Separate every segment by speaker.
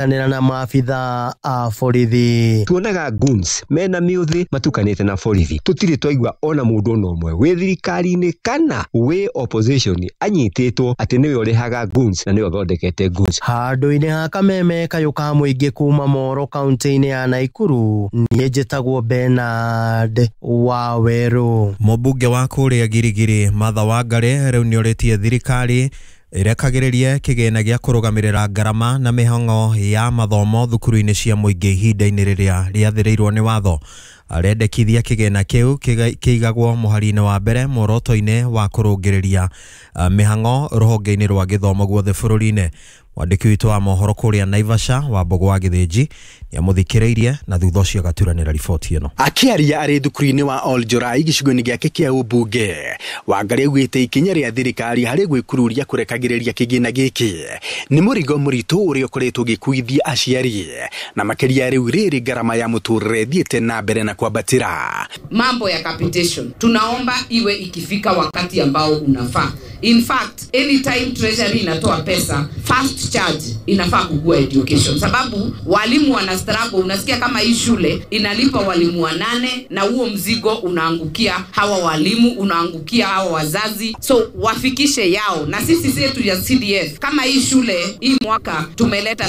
Speaker 1: Nĩra na maabitha a borithi.
Speaker 2: Tuonaga goons mena miuthi matukanĩte na borithi. Tũtirĩ twaigua ona mũndũ ona ũmwe wĩ thirikari-inĩ kana wĩ opposition anyitĩtwo atĩ nĩwe ũrĩhaga goons na nĩwe ũthondekete goons.
Speaker 1: Handũ-inĩ ha kameme kayũ ka mũingĩ kuma Moro kaunti-inĩ ya Naikuru, niĩ njĩtagwo Bernard Wawerũ.
Speaker 3: Mũmbunge wa kũrĩa Girigiri Martha Wangari rĩu nĩorĩtie thirikari ĩrekagĩrĩrie kĩgĩna gĩa kũrũgamĩrĩra ngarama na mĩhang'o ya mathomo thukuru-inĩ cia mũingĩ ihinda-inĩ rĩrĩa rĩathĩrĩirwo nĩ watho. Arendekithia kĩgĩna kĩu kĩigagwo mũhari-inĩ wa mbere muoroto-inĩ wa kũrũngĩrĩria mĩhang'o rũhonge-inĩ rwa gĩthomo guothe bũrũri-inĩ. Mwandĩki witũ wa mohoro kũrĩa Naivasha wa Mbogo wa Gĩthĩnji nĩamũthikĩrĩirie na thutha ũcio agaturanĩra riboti ĩno.
Speaker 4: Akĩaria arĩ thukuru-inĩ wa Oljorai gĩcigo-inĩ gĩake kĩa ũmbunge, Wangari augĩte ikinya rĩa thirikari harĩ gwĩkururia kũrekagĩrĩria kĩgĩna gĩkĩ nĩ mũrigo mũritũ ũrĩa ũkoretwo ũgĩkuithia aciari, na makĩria rĩu rĩrĩ ngarama ya mũtũrĩre ĩthiĩte na mbere na kwambatĩra.
Speaker 5: Mambo ya capitation tunaomba iwe ikifika wakati ambao unafaa. In fact, anytime treasury inatoa pesa, first charge inafaa kugua education, sababu walimu wana struggle. Unasikia kama hii shule inalipa walimu 8 na huo mzigo unaangukia hawa walimu, unaangukia hawa wazazi, so wafikishe yao. Na sisi zetu ya CDF kama hii shule hii mwaka tumeleta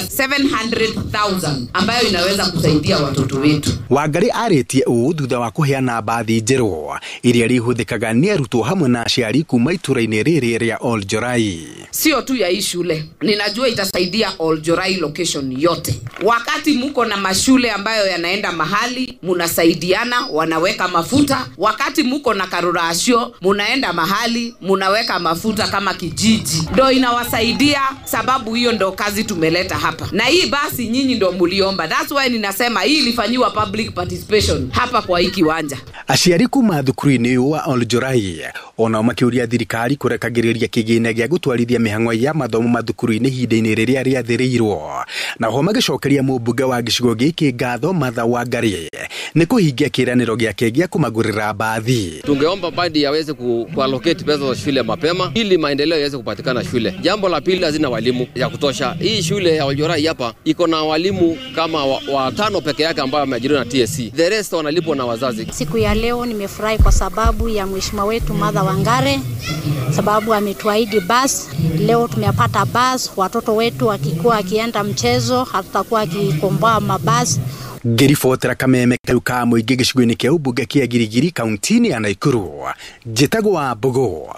Speaker 5: 700,000 ambayo inaweza kusaidia watoto wetu.
Speaker 4: Wangari arĩtie ũũ thutha wa kũheana mbathi njerũ iria rĩhũthĩkaga nĩ arutwo hamwe na aciari kuma itũra-inĩ rĩrĩ rĩa Oljorai.
Speaker 5: Sio tu ya hii shule, ninajua itasaidia Oljorai location yote. Wakati muko na mashule ambayo yanaenda mahali munasaidiana, wanaweka mafuta. Wakati muko na karurasio munaenda mahali munaweka mafuta kama kijiji, ndo inawasaidia. Sababu hiyo ndo kazi tumeleta hapa, na hii basi nyinyi ndo muliomba. That's why ninasema hii ilifanyiwa public participation hapa kwa hii kiwanja.
Speaker 4: Aciari kuma thukuru-inĩ wa Oljorai onao makĩũria thirikari kũrekagĩrĩria kĩgĩna gĩa gũtwarithia mĩhang'o ya mathomo mathukuru-inĩ ihinda-inĩ rĩrĩa rĩathĩrĩirwo. Naho magĩcokeria mũmbunge wa gĩcigo gĩkĩ ngatho Martha Wangari nĩ kũhingia kĩĩranĩro gĩake gĩa kũmagũrĩra mbathi.
Speaker 6: Tungeomba badi yaweze kuallocate pesa za shule mapema ili maendeleo yaweze kupatikana shule. Jambo la pili, hazina walimu ya kutosha. Hii shule ya Oljorai hapa iko na walimu kama watano peke yake ambao wameajiriwa na TSC. The rest wanalipwa na wazazi.
Speaker 7: Siku ya leo nimefurahi kwa sababu ya mheshimiwa wetu Martha Wangari, sababu ametuahidi bus. Leo tumepata bus, watoto wetu wakikuwa akienda mchezo hatutakuwa akikomboa mabasi.
Speaker 4: Ngĩribotera kameme kau ka mũingĩ gĩcigo-inĩ kĩa ũmbunge kĩa Girigiri kaunti-inĩ ya Naikuru, njĩtagwo wa Mbogo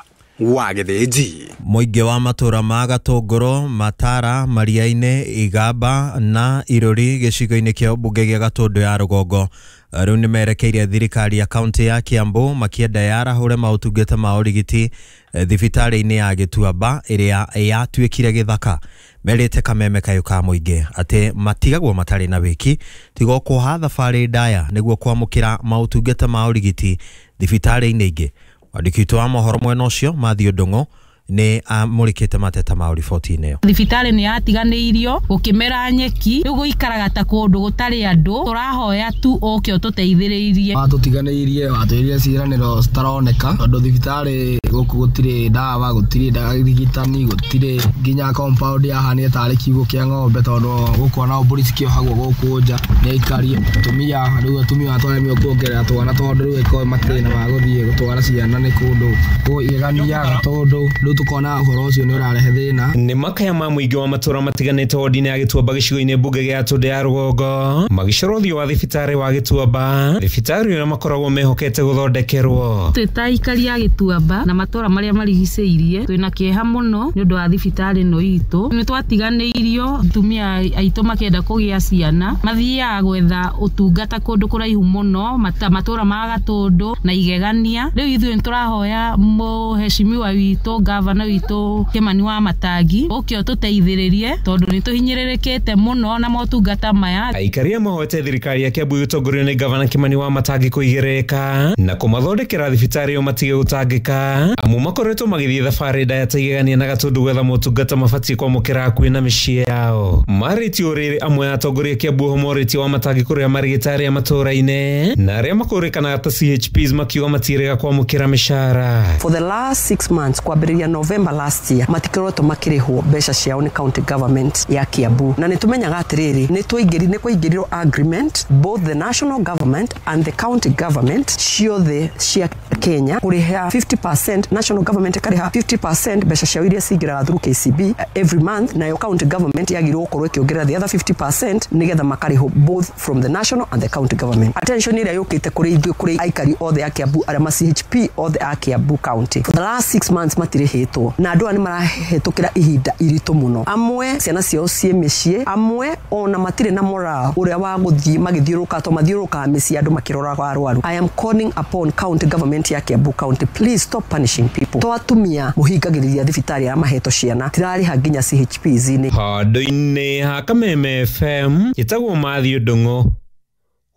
Speaker 4: wa Gĩthĩnji.
Speaker 3: Mũingĩ wa matũra ma Gatũngũrũ, Matara, Maria-inĩ, Igamba na Irũri gĩcigo-inĩ kĩa ũmbunge gĩa Gatũndũ ya Rũgongo rĩu nĩmerekeire thirikari ya kaunti ya Kiambu makĩenda yarahũre maũtungata ma ũrigiti thibitarĩ-inĩ ya Gĩtuamba ĩrĩa yatuĩkire gĩthaka. Merĩte kameme kayũ ka mũingĩ atĩ matigagwo matarĩ na wĩki tiga kuoha thabarĩ ndaya nĩguo kwamũkĩra maũtungata ma ũrigiti thibitarĩ-inĩ ingĩ. Mwandĩki witũ wa mohoro mwena ũcio Matthew Ndung'u nĩ amũrĩkĩte mateta ma riboti-inĩ ĩyo.
Speaker 8: Thibitarĩ nĩ yatiganĩirio gũkĩmera nyeki, rĩu gũikaraga ta kũndũ gũtarĩ andũ. Tũrahoya tu ũke ũtũteithĩrĩrie.
Speaker 9: Watũtiganĩirie, watwĩrire ciĩranĩro citaroneka, tondũ thibitarĩ gũkũ gũtirĩ ndawa, gũtirĩ rigitani, gũtirĩ nginya compound yahanire tarĩ kiugũ kĩa ng'ombe, tondũ gũkũ ona mbũri cikĩohagwo gũkũ nja nĩ aikari. Atumia rĩu atumia twaremio kuongerera twana, tondũ rĩu ĩkorwo matirĩ na ma gũthiĩ gũtwara ciana nĩ kũndũ kũigania Gatũndũ, rĩu tukona ũhoro ũcio nĩ ũrarehe thĩna.
Speaker 10: Nĩ makaya ma mũingĩ wa matũra matiganĩte wodi-inĩ ya Gĩtuamba gĩcigo-inĩ mbunge gĩa Gatũndũ ya Rũgongo magĩcora ũthiũ wa thibitarĩ wa Gĩtuamba, thibitarĩ ũrĩa makoragwo mehokete gũthondekerwo.
Speaker 8: Twĩ ta aikari a Gĩtuamba na matũra marĩa marigicĩirie twĩna kĩeha mũno nĩ ũndũ wa thibitarĩ ĩno itũ. Nĩ twatiganĩirio, atumia aitũ makĩenda kũgĩa ciana mathiaga gwetha ũtungata kũndũ kũraihu mũno matũra ma Gatũndũ na Igegania. Rĩu ithuĩ nĩ tũrahoya mũheshimiwa witũ gavana witũ Kimani wa Matangi ũke ũtũteithĩrĩrie, tondũ nĩ tũhinyĩrĩrĩkĩte mũno na motungata maya.
Speaker 10: Aikari mahoete thirikari ya Kiambu ĩtongorio nĩ gavana Kimani wa Matangi kũigĩrĩrĩka na kũmathondekera thibitarĩ ĩyo matige gũtangĩka Amu makoretwo magĩthiĩ thabarĩ ndaya ta Igegania na Gatũndũ gwetha motungata mabatiĩ kwamũkĩra hakuhĩ na mĩciĩ yao. Marĩtie ũrĩrĩ amwe a atongoria Kiambu oho morĩtie wa matangĩ kũrĩha marĩgĩtarĩ a matũũra-inĩ na arĩa makũrĩkanaga ta CHPs makiuga matiĩrĩga kwamũkĩra mĩcara.
Speaker 11: For the last 6 months, kwambĩrĩria November last year, matikoretwo makĩrĩhwo mbeca ciao nĩ county government ya Kiambu. Na nĩ tũmenyaga atĩrĩrĩ, nĩ twaingĩri nĩ kwaingĩrirwo agreement, both the national government and the county government ciothe cia Kenya, kũrĩha 50%, national government ĩkarĩha 50% mbeca ciao iria cingĩraga through KCB every month, nayo county government yagĩrĩirwo gũkorwo ĩkĩongerera the other 50% nĩgetha makarĩhwo both from the national and the county government. Attention ĩrĩa yũkĩte kũrĩ ithuĩ, kũrĩ aikari othe a Kiambu, arĩa ma CHP othe a Kiambu County, for the last 6 months matirĩhĩtwo, na andũ aya nĩ marahĩtũkĩra ihinda iritũ mũno. Amwe ciana ciao ciĩ mĩciĩ, amwe ona matirĩ na moral ũrĩa wa gũthiĩ magĩthiũrũrũka, to mathiũrũrũkaga mĩciĩ andũ makĩroraga arwaru. I am calling upon county government ya Kiambu County, please stop punishing people. To atumia mũhingagĩrĩria thibitarĩ arĩa mahetwo ciana tirarĩha nginya CHPs-inĩ.
Speaker 10: Handũ-inĩ ha Kameme FM, njĩtagwo Matthew Ndung'u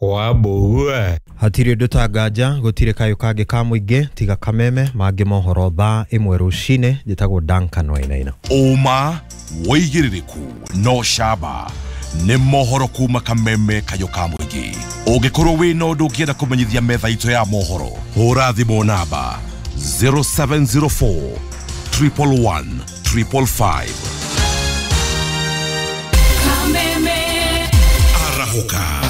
Speaker 10: wa Mbũgua.
Speaker 3: Hatirĩ ũndũ ta nganja, gũtirĩ kayũ kangĩ ka mũingĩ tiga Kameme. Mangĩ mohoro thaa 1 rũcinĩ. Njĩtagwo Duncan Wainaina.
Speaker 12: Ũma, wĩigĩrĩrĩku no camba nĩ mohoro kuma Kameme, kayũ ka mũingĩ. Ũngĩkorwo wĩna ũndũ ũngĩenda kũmenyithia metha itũ ya mohoro, hũra thimũ namba 0704 111 555. Arahũka.